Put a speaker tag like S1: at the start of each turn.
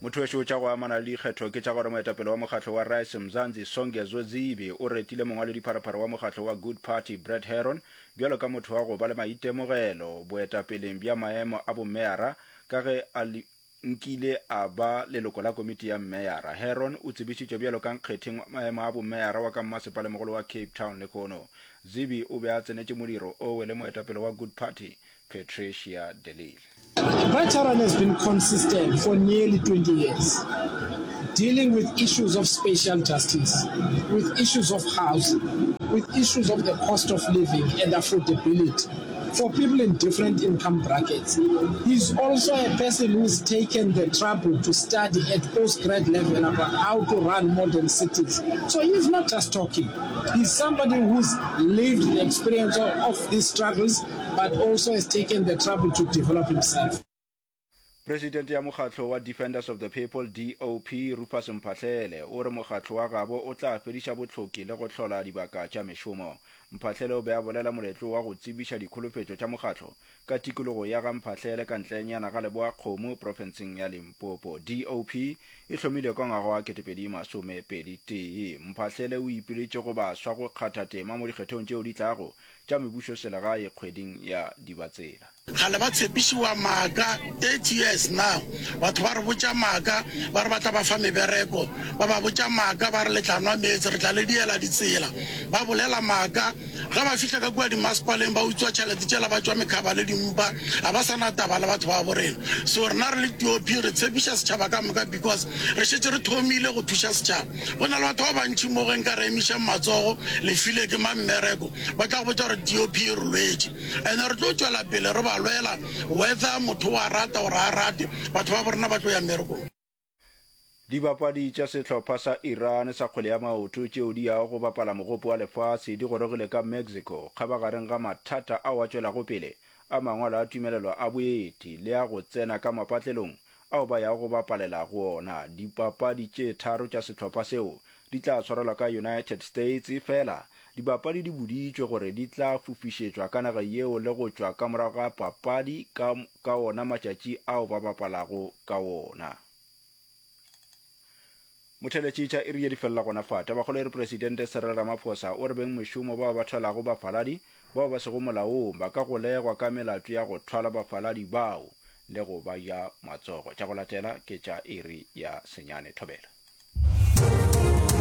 S1: Motho tša go amana le dikgetho ke tša gore moetapele wa mokgatlo wa Rise Mzansi Songezo Zibi o retile mongwaledipharephare wa mokgatlo wa Good Party Brett Herron bjalo ka motho wa go ba le maitemogelo boetapeleng bja maemo a bomeyara ka ge a nkile a ba leloko la komiti ya mmeyara. Herron o tsebišitšwe bjalo ka nkgetheng wa maemo a bomeyara wa ka mmasepalemogolo wa Cape Town lehono. Zibi o be a tsenetše modiro owe le moetapele wa Good Party Patricia de Lille.
S2: Veteran has been consistent for nearly 20 years, dealing with issues of spatial justice, with issues of housing, with issues of the cost of living and affordability for people in different income brackets. He's also a person who's taken the trouble to study at postgrad level about how to run modern cities. So he's not just talking. He's somebody who's lived the experience of, of these struggles but also has taken the trouble to develop himself.
S1: Presidente ya mokgatlo wa Defenders of the People, DOP, Rufus Mphahlele, o re mokgatlo wa gabo o tla fediša bohloki le go hlola dibaka tša mešomo. Mphahlele o be a bolela moletlo wa go tsebiša dikholofetšo tša mokgatlo ka tikologo ya ga Mphahlele ka ntlenyana ga Leboa-Kgomo profenseng ya Limpopo. DOP e hlomilwe ka ngwaga wa 2021. Mphahlele o ipiletše go baswa go kgatha tema mo dikgethong tšeo di tlago tša mebušoselegae kgweding ya Dibatsela.
S3: Kgale ba tshepišiwa maaka 30 years now batho ba re botša maaka ba re ba tla ba fa mebereko ba ba botša maaka ba re le tla nwa meetse re tla le diela ditsela ba bolela maaka ge ba fihla ka kua dimasepaleng ba utswa tšhelete tšela ba tšwa mekhaba le dimpa ga ba sa na taba le batho ba bo rena so rena re le TOP re tshepiša setšhaba ka moka because re šetše re thomile go thuša setšhaba Go na le batho ba bantši mo ge nka re emišang matsogo, le file ke mang mmereko, ba tla go botša gore DOP e re lwetše. And re tlo tšwela pele re ba lwela whether motho o a rata or a rate, batho ba bo rena ba tlo ya mmerekong.
S1: Dibapadi tša sehlopha sa Iran sa kgwele ya maoto tšeo di yago go bapala Mogopo wa Lefase di gorogile ka Mexico kgabagareng ga mathata ao a tšwelago pele a mangwalo a tumelelo a boeti le a go tsena ka mapatlelong ao ba yago go bapalela go ona. Dipapadi tše tharo tša sehlopha seo di tla swarelwa ka United States, efela dibapadi di boditšwe gore di tla fofišetšwa ka naga yeo le go tšwa ka morago ga papadi ka ka ona matšatši ao ba bapalago ka wona. Motheeletši tša iri ye di felela gona fa. Tabakgolo e re Presidente Cyril Ramaphosa o re bengmešomo bao ba thwalago bafaladi bao ba sego molaong ba ka golegwa ka melato ya go thwala bafaladi bao le go ba ja matsogo. Tša go latela ke tša iri ya senyane. Thobela.